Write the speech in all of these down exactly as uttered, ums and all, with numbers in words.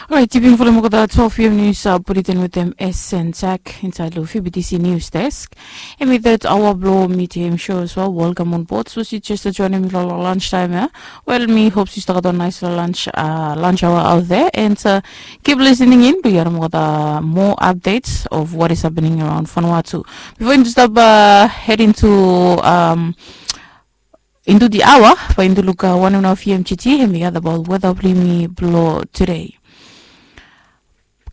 Orait, yupin folem olgeta twelve pm nius bulletin wetem S N Jack insait long F B T C News Desk. Em i that aoa blong medium show as well. Welcome on board. Sapos yu jes joinim mi long lunch time ya, wel, mi hope yu stap gat wan nice lunch, uh, lunch hour out there, and uh, keep listening in blong yu harim olgeta more updates of what is happening around Vanuatu. Before yu stap uh, head into um, into the hour, bae yumi luk wanem nao V M G T hem i gat abaot weta blong yumi blong today.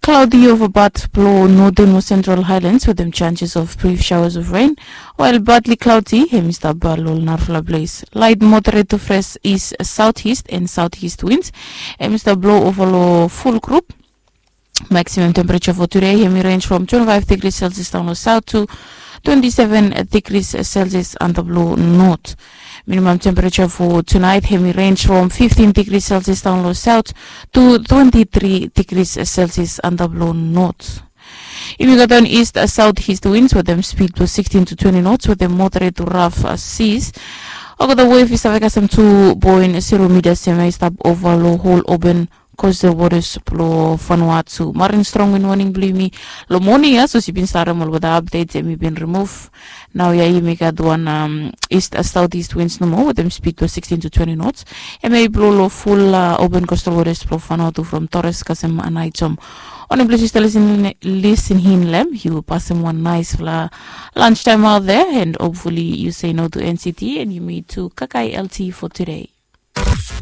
Cloudy over part blong Northern mo Central Highlands wetem chances of brief showers of rain, while partly cloudy hem i stap long narafala ples. Light moderate to fresh east southeast and southeast winds hem i stap blong ova long full group. Maximum temperature for today hem i range from twenty-five degrees Celsius down long south to twenty-seven degrees Celsius antap long north. Minimum temperature for tonight hem i range from fifteen degrees Celsius down long south to twenty-three degrees Celsius antap long north. Yumi gat wan east southeast winds wetem speed blong sixteen to twenty knots wetem moderate to rough seas. Olgeta wave i save kasem tu poen zero meters hem i stap ova long hol open coastal waters blong Vanuatu. Marin strong wind warning blong yumi long moning ya, sapos yu bin save harim olgeta updates hem i bin remove. Naoia yumi gat wan um, east southeast winds nomo wetem speed blong sixteen to twenty knots. Hem i blo long full uh, open coastal waters blong Vanuatu from Torres kasem Aneityum. Wanem ples yu stap listening in long hem, yu pasem wan nicefala lunch time out there, and hopefully yu say no to N C T and yumi tu kakai L T for today.